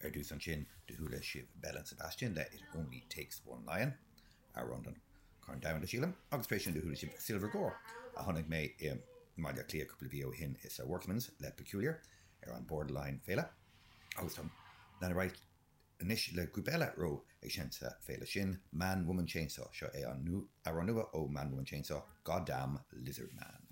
Ar dtús ansin, do chuala sibh Belle and Sebastian le It Only Takes One Lion, amhrán don Chorn Domhanda, sílim, agus tar éis sin do chuala sibh Silver Gore, a chonaic mé i mBaile Átha Cliath cúpla mhí ó shin i sa Workman's le Peculiar ar an Borderline féile. Agus tá leanfaidh ar aghaidh anois le grúpa eile a raibh ag seinnt sa féile sin, Man Woman Chainsaw. Seo é an amhrán nua ó Man Woman Chainsaw, Goddamn Lizard Man.